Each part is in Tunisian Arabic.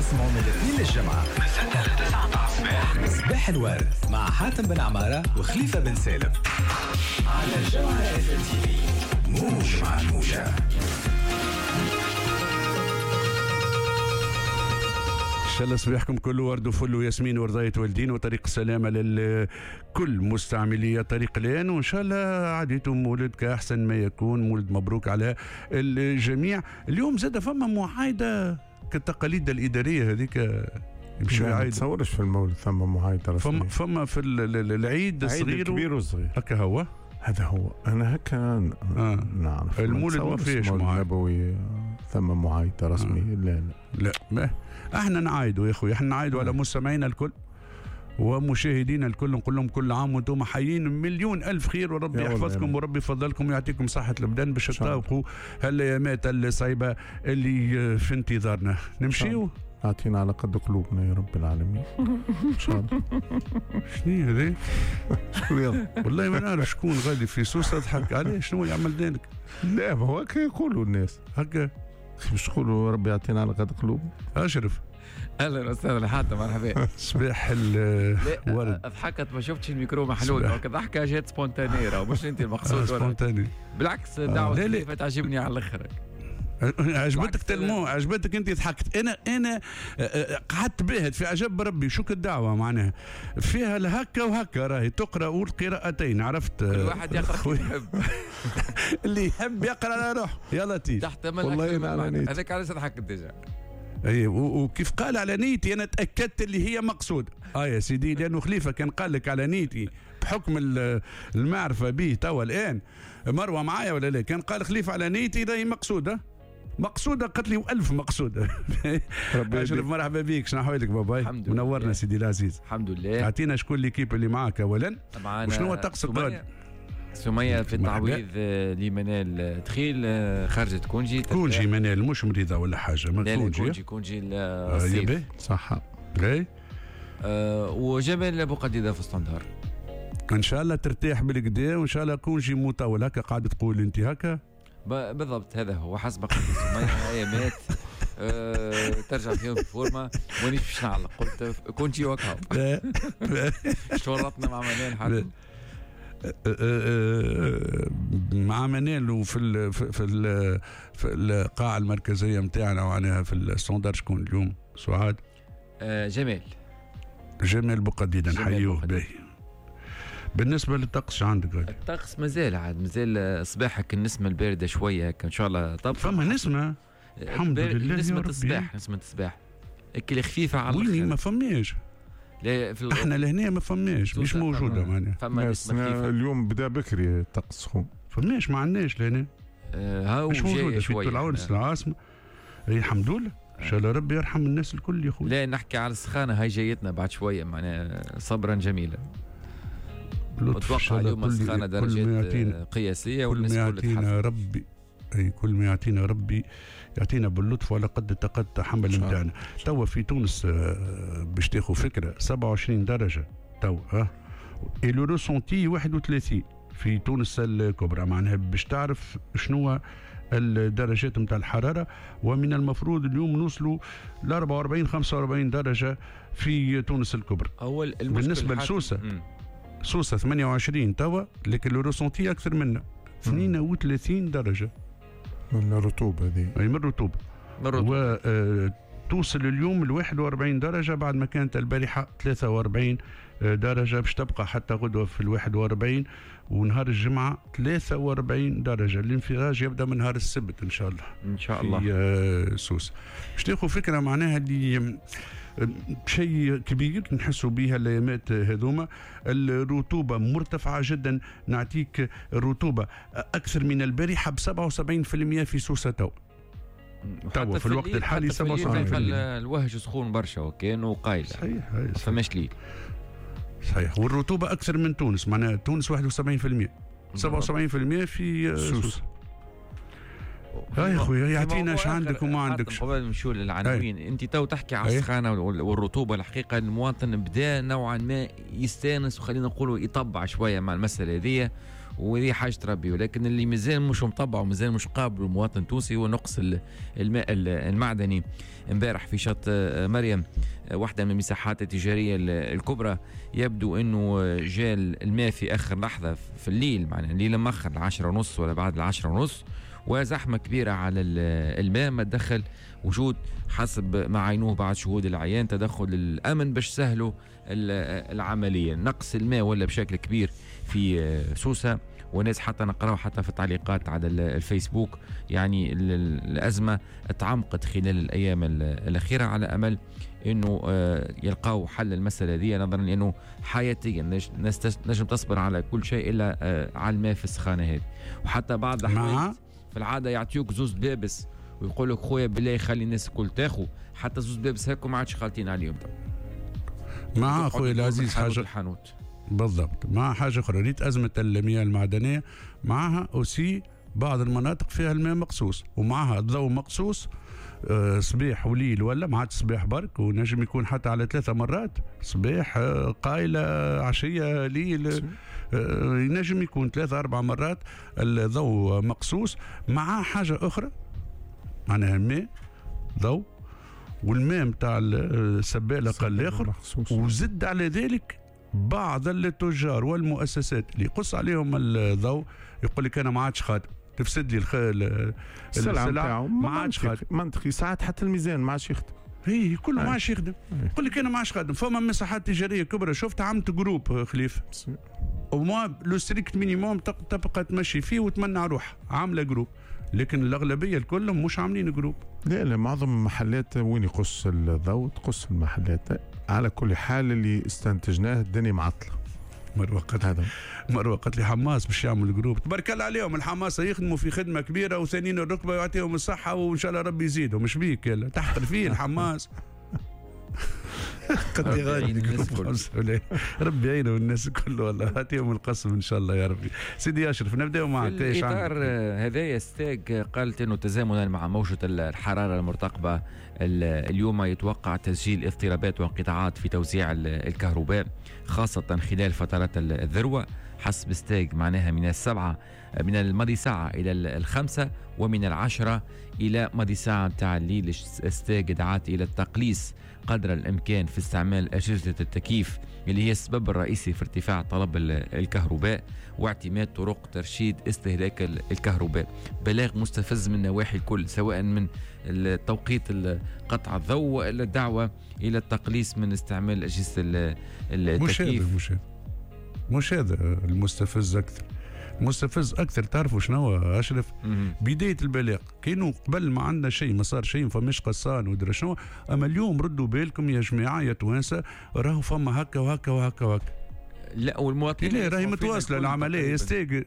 اسمعوا من الاثنين للجمعة من 6 ل 9 متاع الصباح، صباح الورد مع حاتم بن عمارة وخليفة بن سالم على الجوهرة FM TV، موج مع الموجة. ان شاء الله صباحكم كله ورد وفل وياسمين ورضاية والدين وطريق السلامة لكل مستعملي طريق الآن، وإن شاء الله عاديتم مولد كأحسن ما يكون، مولد مبروك على الجميع. اليوم زاد فما معايدة كالتقاليد الإدارية هذيك، يمشوا ما يعايدوا. تصورش في المولد ثم معايدة رسمية. فما في العيد الصغير الكبير والصغير هكا هو، هذا هو. أنا هكا نعرف المولد ما فيهش معايدة النبوي ثم معايدة رسمية. لا لا لا، ما احنا نعايدوا يا اخوي، احنا نعايدوا على مستمعينا الكل ومشاهدينا الكل، نقول لهم كل عام وانتم حيين مليون الف خير، وربي يحفظكم وربي يفضلكم ويعطيكم صحة البدن باش تطابقوا هالايامات الصعيبة اللي في انتظارنا. نمشيو اعطينا على قد قلوبنا يا رب العالمين ان شاء الله. شنو هذا؟ شكون والله ما نعرف شكون غادي في سوسة ضحك عليه، شنو اللي عمل ذلك؟ لا ما هو هكا يقولوا الناس هكا، باش تقولوا ربي يعطينا على قد قلوبنا. اشرف اهلا وسهلا حاتم، مرحبا. صباح الورد. ضحكت ما شفتش الميكرو محلول، donc ضحكه جات spontanée، مش انت المقصود. spontanée بالعكس، دعوه خليفة تعجبني على الاخر. عجبتك tellement، عجبتك انت ضحكت. انا قعدت باهت في عجب ربي، شو الدعوة معناها فيها الهكا وهكا، راهي تقرا والقراءتين، عرفت؟ كل واحد يقرا اللي يحب، اللي يحب يقرا على روحه. يا لطيف تحتمل والله انا هذاك علاش ضحكت déjà. اي وكيف قال على نيتي انا تاكدت اللي هي مقصود. يا سيدي، لانه خليفة كان قال لك على نيتي بحكم المعرفة به توا الان، مروه معايا ولا لا؟ كان قال خليفة على نيتي راهي مقصوده، مقصوده قالت لي وألف مقصوده. اشرف مرحبا بك، شنو احوالك باباي؟ منورنا سيدي العزيز. الحمد لله. اعطينا شكون l'équipe اللي معاك اولا، وشنو هو الطقس القادم؟ سمية في التعويض لمنال دخيل، خرجت congé. congé منال مش مريضة ولا حاجة، ما congé congé الصيف صح. اي وجمال ابو قديده في standard. ان شاء الله ترتاح بالكدا، وان شاء الله congé مطول هكا قاعد تقول انت هكا. بالضبط هذا هو حسب قصة سمية، ايامات ترجع فيهم في forme، ونيش باش نعلق، قلت congé وكهو. شورطنا مع منال حاتم، مع منال وفي ال في ال في القاعة المركزية نتاعنا وعناها في ال standard. شكون اليوم سعاد؟ جمال، جمال بوقديدة نحيوه. باهي. بالنسبة للطقس عندك غادي؟ الطقس مازال عاد مازال صباحك النسمة الباردة شوية هكا ان شاء الله. طب فما نسمة الحمد لله، نسمة الصباح، نسمة الصباح اكل خفيفة على الاخر. ما فماش لا في احنا لهنا ما فماش، مش موجودة معناها. فما نسمة اليوم بدا بكري الطقس سخون، فماش، ما عندناش لهنا. هاو مش موجودة في العرس العاصمة. اي الحمد لله، ان شاء الله ربي يرحم الناس الكل يا خويا. لا نحكي على السخانه هاي جايتنا بعد شوية، معناها صبرا جميلا. متوقع اليوم السخانه درجات قياسية، والناس كل يعطينا ربي، اي كل ما يعطينا ربي يعطينا باللطف وعلى قد الطاقة التحمل نتاعنا. توا في تونس باش تاخذ فكرة 27 درجه توا، et le ressenti 31 في تونس الكبرى، معناها باش تعرف شنو الدرجات نتاع الحرارة. ومن المفروض اليوم نوصلوا ل 44 45 درجه في تونس الكبرى. اول بالنسبة لسوسه، سوسة 28 توا، لكن le ressenti اكثر منا 32 درجه من الرطوبة هذه. اي من الرطوبة. وتوصل اليوم ل 41 درجه بعد ما كانت البارحة 43 درجه، باش تبقى حتى غدوه في ال 41، ونهار الجمعة 43 درجه. الانفراج يبدا من نهار السبت ان شاء الله. ان شاء الله في سوسة. باش تاخذ فكرة معناها اللي شيء كبير نحسوا بها الايامات هذوما. الرطوبة مرتفعة جدا، نعطيك الرطوبة اكثر من البارحة ب 77% في سوسة تو في الوقت الحالي 77%. الوهج سخون برشا وكانوا قايله. صحيح، ما فماش ليل. صحيح، والرطوبة اكثر من تونس، معناها تونس 71%، 77% في سوسة. يا خويا يعطينا اش عندك وما عندكش. قبل نمشيو للعناوين، انت تو تحكي على السخانه والرطوبة، الحقيقة المواطن بدا نوعا ما يستانس وخلينا نقولوا يطبع شوية مع المسالة هذه، وهذه حاجة ربي، ولكن اللي مازال مش مطبع ومازال مش قابل المواطن التونسي هو نقص الماء المعدني. امبارح في شط مريم واحدة من المساحات التجارية الكبرى يبدو انه جاء الماء في اخر لحظة في الليل، معناها الليل مأخر 10:30 ولا بعد 10:30، وزحمة كبيرة على الماء. ما تدخل وجود حسب ما عينوه بعد شهود العيان تدخل الأمن باش سهلوا العملية. نقص الماء ولا بشكل كبير في سوسة، وناس حتى نقراو حتى في التعليقات على الفيسبوك، يعني الأزمة تعمقت خلال الأيام الأخيرة، على أمل أنه يلقاو حل المسألة دي، نظرا لأنه حياتيا الناس نجم تصبر على كل شيء إلا على الماء في السخانة هذه. وحتى بعض الأحوال في العادة يعطيوك زوز بابس ويقول لك خويا بالله خلي الناس الكل تاخو، حتى زوز بابس هكو ما عادش خالطين عليهم. مع خويا العزيز حاجة الحانوت بالضبط، مع حاجة أخرى، ريت أزمة المياه المعدنية معها aussi بعض المناطق فيها الماء مقصوص ومعها الضوء مقصوص، صباح وليل ولا ما عادش صباح برك، ونجم يكون حتى على 3 مرات، صباح قايلة عشية ليل، ينجم يكون 3-4 مرات الضوء مقصوص. مع حاجة أخرى معناها الماء ضوء والماء متاع السبالة قال الآخر، وزد على ذلك بعض التجار والمؤسسات اللي يقص عليهم الضوء يقول لك أنا ما عادش خادم، تفسد لي السلعة ما عادش خادم. منطقي، ساعات حتى الميزان ما عادش يخدم، هي كله ما عادش يخدم، يقول لك انا ما عادش خادم. فما مساحات تجارية كبرى شفت عملت groupe خليفة وما le strict minimum تبقى تمشي فيه وتمنع روحها، عامله groupe، لكن الاغلبية الكل مش عاملين groupe. لا معظم المحلات وين يقص الضوء تقص المحلات. على كل حال اللي استنتجناه الدنيا معطلة. مروة قالت لي حماس باش يعمل groupe، تبارك الله عليهم الحماس يخدموا في خدمة كبيرة وثانيين الركبة ويعطيهم الصحة وان شاء الله ربي يزيدهم. مش بيك تحقر فيه الحماس. قد غالي ربي يعينه الناس الكل والله، يعطيهم القسم ان شاء الله يا ربي. سيدي اشرف نبداو معك. في اطار هذايا ستاج قالت انه تزامنا مع موجه الحرارة المرتقبه اليوم يتوقع تسجيل اضطرابات وانقطاعات في توزيع الكهرباء خاصة خلال فترات الذروة. حسب ستاج معناها من 7 من الماضي ساعة إلى 5 ومن 10 إلى ماضي ساعة متاع الليل. ستاج دعت إلى التقليص قدر الإمكان في استعمال أجهزة التكييف اللي هي السبب الرئيسي في ارتفاع طلب الكهرباء، واعتماد طرق ترشيد استهلاك الكهرباء. بلاغ مستفز من نواحي الكل، سواء من التوقيت قطع الضوء وإلى الدعوة إلى التقليص من استعمال أجهزة التكييف. مش هذا المستفز أكثر. مستفز أكثر تعرفوا شنو أشرف؟ بداية البلاغ كانوا قبل ما عندنا شيء، ما صار شيء، فماش قصان ودرا شنو. أما اليوم ردوا بالكم يا جماعة يا توانسة، راهو فما هكا وهكا وهكا وهكا. لا والمواطنين لا راهي متواصلة العملية، يستاج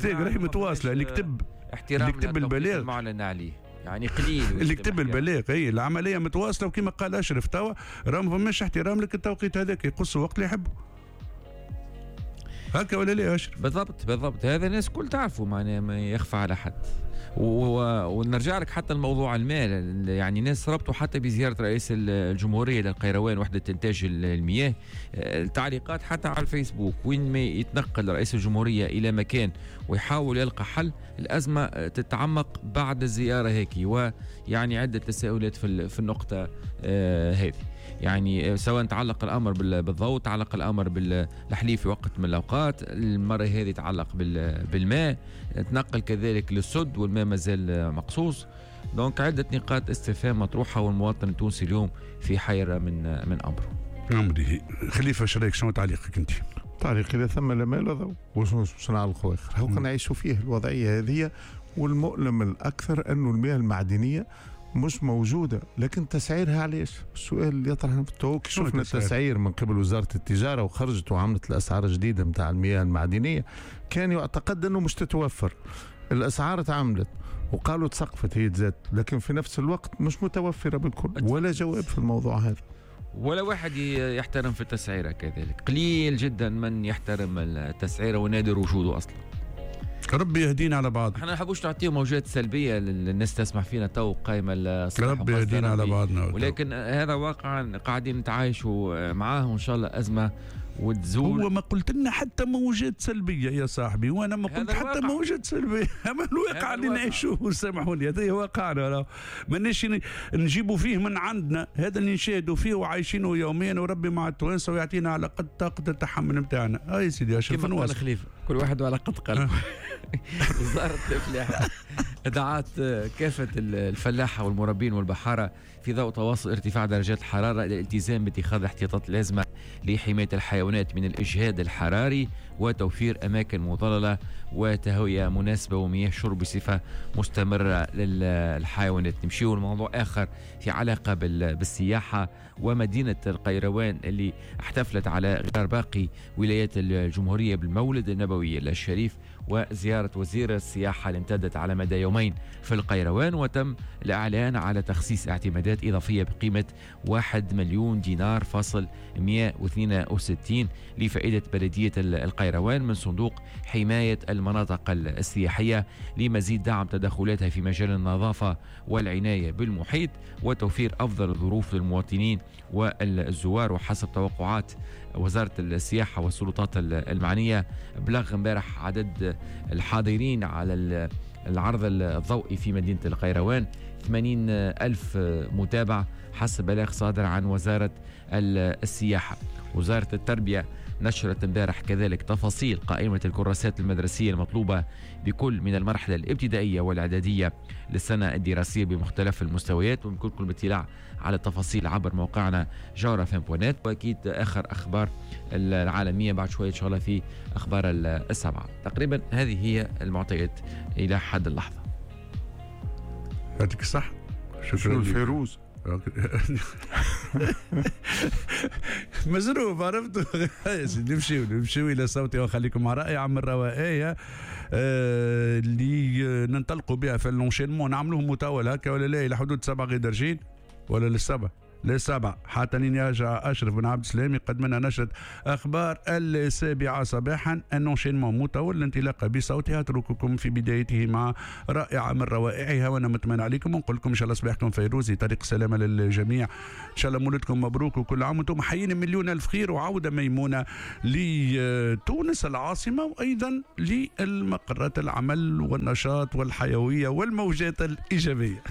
راهي متواصلة. اللي كتب احترام اللي كتب البلاغ معلن عليه يعني قليل اللي كتب البلاغ، هي العملية متواصلة. وكما قال أشرف توا راه ما فماش احترام لك التوقيت هذاك، يقصوا وقت اللي يحبوا هكا ولا لا أشرف؟ بالضبط بالضبط، هذا الناس كل تعرفوا، معناها ما يخفى على حد. ونرجع لك حتى الموضوع المال، يعني ناس ربطوا حتى بزيارة رئيس الجمهورية للقيروان وحدة إنتاج المياه. التعليقات حتى على الفيسبوك وين ما يتنقل رئيس الجمهورية إلى مكان ويحاول يلقى حل، الأزمة تتعمق بعد الزيارة هيك، ويعني عدة تساؤلات في النقطة هذه، يعني سواء تعلق الأمر بالضوء، تعلق الأمر بالحليب في وقت من الأوقات، المرة هذه تعلق بالماء، تنقل كذلك للسد والماء مازال مقصوص. donc عدة نقاط استفهام مطروحة، والمواطن التونسي اليوم في حيرة من أمره. أمره. خليفة شريك، شنو تعليقك أنت؟ تعليقي لا ثم لا ماء لا ضوء، وش نعلقوا آخر؟ هو نعيشوا فيه الوضعية هذه، والمؤلم الأكثر أنه المياه المعدنية مش موجودة، لكن تسعيرها علاش؟ السؤال اللي يطرح نفسه. شفنا التسعير من قبل وزارة التجارة وخرجت وعملت الأسعار الجديدة متاع المياه المعدنية، كان يعتقد أنه مش تتوفر. الأسعار تعملت وقالوا تسقفت هي تزاد، لكن في نفس الوقت مش متوفرة بالكل، ولا جواب في الموضوع هذا، ولا واحد يحترم في التسعيرة كذلك. قليل جدا من يحترم التسعيرة ونادر وجوده أصلا. ربي يهدينا على بعض. احنا ما نحبوش نعطيو موجات سلبية للناس تسمع فينا تو قايمة الصباح. ربي يهدينا على بعضنا، ولكن هذا واقع قاعدين نتعايشوا معاه، وان شاء الله ازمة وتزول. هو ما قلت لنا حتى موجات سلبية يا صاحبي، وانا ما قلت حتى موجات سلبية. اما الواقع اللي نعيشوه، سامحوني، هذا واقعنا، ماناش نجيبوا فيه من عندنا، هذا اللي نشاهدوا فيه وعايشينه يوميا، وربي مع التوانسة ويعطينا على قد طاقة التحمل نتاعنا. هاي سيدي اشرف نواصل خليفة، كل واحد وعلى قد قلبه. وزارة الفلاحة دعت كافة الفلاحة والمربين والبحاره في ضوء تواصل ارتفاع درجات الحرارة الى الالتزام باتخاذ الاحتياطات اللازمة لحماية الحيوانات من الاجهاد الحراري وتوفير اماكن مظلله وتهويه مناسبة ومياه شرب بصفة مستمرة للحيوانات. نمشيو لموضوع اخر في علاقة بالسياحة ومدينة القيروان اللي احتفلت على غرار باقي ولايات الجمهورية بالمولد النبوي الشريف وزيارة وزير السياحة اللي امتدت على مدى يومين في القيروان، وتم الإعلان على تخصيص اعتمادات إضافية بقيمة 1 مليون دينار فاصل 162 لفائدة بلدية القيروان من صندوق حماية المناطق السياحية لمزيد دعم تدخلاتها في مجال النظافة والعناية بالمحيط وتوفير أفضل الظروف للمواطنين والزوار. وحسب توقعات وزارة السياحة والسلطات المعنية، بلغ امبارح عدد الحاضرين على العرض الضوئي في مدينة القيروان 80,000 متابع حسب بلاغ صادر عن وزارة السياحة. وزارة التربية نشرت امبارح كذلك تفاصيل قائمة الكراسات المدرسية المطلوبة بكل من المرحلة الابتدائية والإعدادية للسنة الدراسية بمختلف المستويات، ويمكنكم الاطلاع على التفاصيل عبر موقعنا جوهرة FM point net. وأكيد آخر أخبار العالمية بعد شوية إن شاء الله في أخبار 7 تقريبا. هذه هي المعطيات إلى حد اللحظة. يعطيك الصحة. شكرا. الفيروز مزروب عرفت. نمشيو الى صوتي وخليكم مع رائعة من الروائيه اللي ننطلقوا بها في l'enchaînement، نعملوه مطول هكا ولا لا، الى حدود 7 غير درجين ولا للسبع للسبع حتى يرجع أشرف بن عبد السلام يقدم لنا نشرة أخبار 7 صباحا. un enchaînement مطول الانطلاقة بصوتها، أترككم في بدايته مع رائعة من روائعها، وأنا مطمئن عليكم ونقول لكم إن شاء الله صباحكم فيروزي، طريق سلامة للجميع، إن شاء الله مولدكم مبروك وكل عام وأنتم حيين مليون ألف خير، وعودة ميمونة لتونس العاصمة وأيضا للمقرات العمل والنشاط والحيوية والموجات الإيجابية.